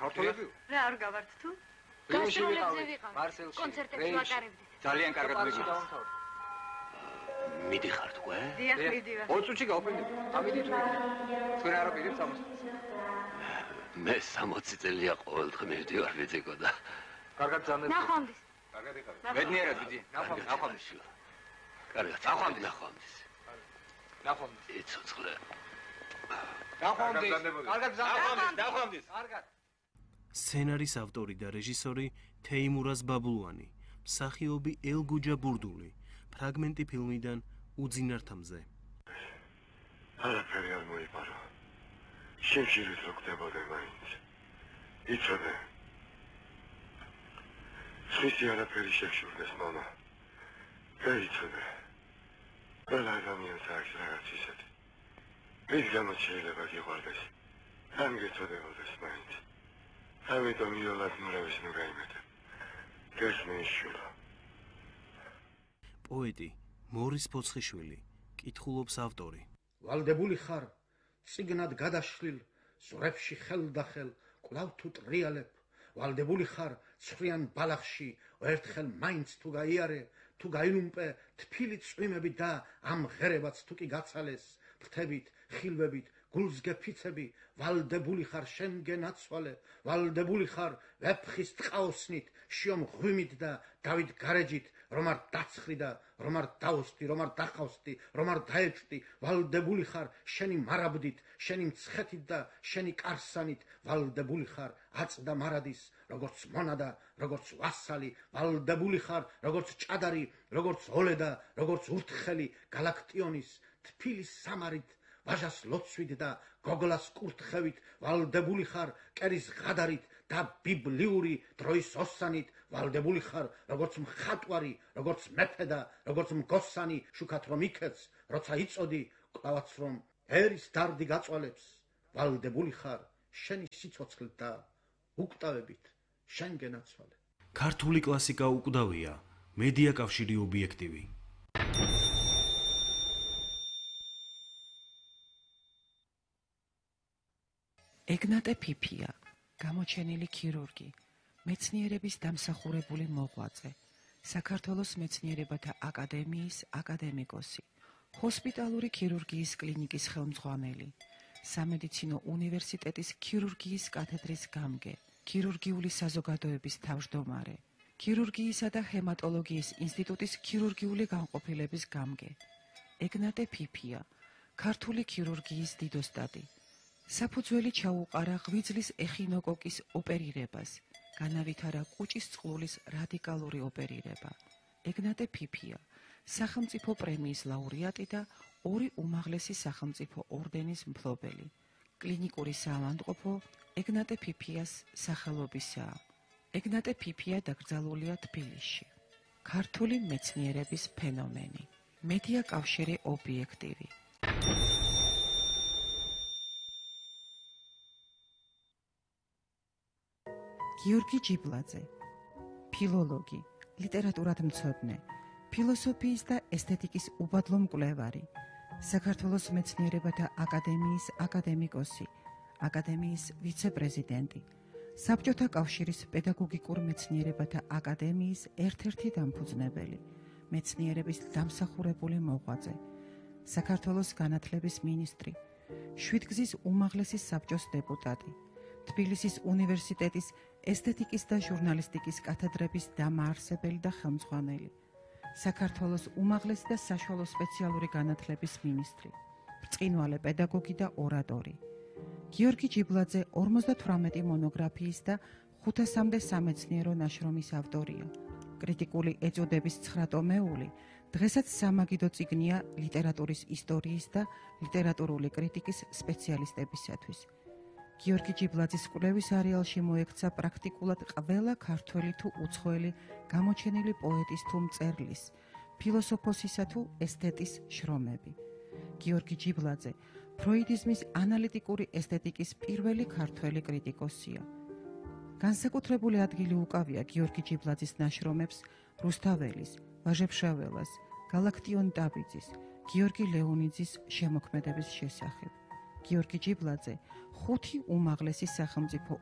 ქართველები? რა არ გავართ თუ? გასტროლებზე ვიყავ. კონცერტებში ვატარებდით. ძალიან კარგად მეგონა. მიდიხარ თქვენ? დიახ, მიდივარ. 20 წუთში გავფრინდით. ამიტომ თქვენ არ აპირებთ ამას. მე 60 წელია ყოველდღე მივდივარ ბიძიკო და კარგად ძანებ. ნახვამდის. კარგად იყავი. ბედნიერად ბიძი. ნახვამდის. კარგად. ნახვამდის. იცოცხლე. ნახვამდის. კარგად ძანებ. ნახვამდის. კარგად. სცენარის ავტორი და რეჟისორი თეიმურაზ ბაბლუანი, მსახიობი ელგუჯა ბურდული, ფრაგმენტი ფილმიდან უძინართამზე. არაფერი არ მოიპარო. შიმშილით რო ხდებოდა მაინც. იცოდე. ხისი არაფერი შეგშურდეს მამა. გაიცოდე. ყველა ადამიანს აქვს რაღაც ისეთი. მის გამო შეიძლება გიყვარდეს. ან გეწოდებოდეს მაინც. ამიტომ იოლად მრევის ნუ გაიმეტე. გესმის შულა. პოეტი მორის ფოცხიშვილი, კითხულობს ავტორი. ვალდებული ხარ, წიგნად გადაშლილ, ზურებში ხელდახელ, კვლავ თუ ტრიალებ. ვალდებული ხარ, ცხრიან ბალახში, ერთხელ მაინც თუ გაიარე, თუ გაილუმპე, თფილი წვიმები და ამ ღერებაც თუ კი გაცალეს, ფრთებით, ხილვებით, გულს გეფიცები, ვალდებული ხარ შენ გენაცვალე, ვალდებული ხარ ვეფხის ტყაოსნით, შიომ ღვიმით და დავით გარეჯით, რომ არ დაცხრი და რომ არ დაოსტი, რომ არ დახავსტი, რომ არ დაეჭვდი, ვალდებული ხარ შენი მარაბდით, შენი მცხეთით და შენი კარსანით, ვალდებული ხარ აწდა მარადის, როგორც მონადა, როგორც ვასალი, ვალდებული ხარ როგორც ჭადარი, როგორც ოლედა, როგორც ურთხელი, გალაქტიონის, თფილის სამარით, ვაჟას ლოცვით და გოგლას კურთხევით, ვალდებული ხარ კერის ღადარით და ბიბლიური დროის ოსანით, ვალდებული ხარ როგორც მხატვარი, როგორც მეფე და როგორც მგოსანი, შუქად რომ იქეც, როცა იწოდი, კლავაც რომ ერის დარდი გაწვალებს, ვალდებული ხარ შენი სიცოცხლით და უკვდავებით შენ გენაცვალე. ქართული კლასიკა უკვდავია, მედია კავშირი ობიექტივი. ეგნატე ფიფია, გამოჩენილი ქირურგი, მეცნიერების დამსახურებული მოღვაწე, საქართველოს მეცნიერებათა აკადემიის აკადემიკოსი, ჰოსპიტალური ქირურგიის კლინიკის ხელმძღვანელი, სამედიცინო უნივერსიტეტის ქირურგიის კათედრის გამგე, ქირურგიული საზოგადოების თავმჯდომარე, ქირურგიისა და ჰემატოლოგიის ინსტიტუტის ქირურგიული განყოფილების გამგე. ეგნატე ფიფია, ქართული ქირურგიის დიდოსტატი. საფუძველი ჩაუყარა ღვიძლის ეხინოკოკის ოპერირებას, განავითარა კუჭის წყლულის რადიკალური ოპერირება. ეგნატე ფიფია, სახელმწიფო პრემიის ლაურეატი და 2 უმაღლესი სახელმწიფო ორდენის მფლობელი. კლინიკური საავადმყოფო ეგნატე ფიფიას სახელობისაა. ეგნატე ფიფია დაკრძალულია თბილისში. ქართული მეცნიერების ფენომენი. მედია კავშირი ობიექტივი. გიორგი ჯიბლაძე, ფილოლოგი, ლიტერატურათმცოდნე, ფილოსოფიის და ესთეტიკის უბადლო მკვლევარი, საქართველოს მეცნიერებათა აკადემიის აკადემიკოსი, აკადემიის ვიცე-პრეზიდენტი, საბჭოთა კავშირის პედაგოგიკურ მეცნიერებათა აკადემიის ერთ-ერთი დამფუძნებელი, მეცნიერების დამსახურებული მოღვაწე, საქართველოს განათლების მინისტრი, შვიდგზის უმაღლესი საბჭოს დეპუტატი, თბილისის უნივერსიტეტის ესთეტიკის და ჟურნალისტიკის კათედრების დამაარსებელი და ხელმძღვანელი, საქართველოს უმაღლესი და საშუალო სპეციალური განათლების მინისტრი, ბრწყინვალე პედაგოგი და ორატორი. გიორგი ჯიბლაძე 58 მონოგრაფიის და 500-მდე სამეცნიერო ნაშრომის ავტორია. კრიტიკული ეწოდების 9 ტომეული დღესაც სამაგიდო წიგნია ლიტერატურის ისტორიის და ლიტერატურული კრიტიკის სპეციალისტებისათვის. გიორგი ჯიბლაძის კვლევის არეალში მოექცა პრაქტიკულად ყველა ქართველი თუ უცხოელი გამოჩენილი პოეტის თუ მწერლის, ფილოსოფოსისა თუ ესთეტის შრომები. გიორგი ჯიბლაძე ფროიდიზმის ანალიტიკური ესთეტიკის პირველი ქართველი კრიტიკოსია. განსაკუთრებული ადგილი უკავია გიორგი ჯიბლაძის ნაშრომებს რუსთაველის, ვაჟეფშაველას, გალაქტიონ დაბიძის, გიორგი ლეონიძის შემოქმედების შესახებ. გიორგი ჯიბლაძე 5 უმაღლესი სახელმწიფო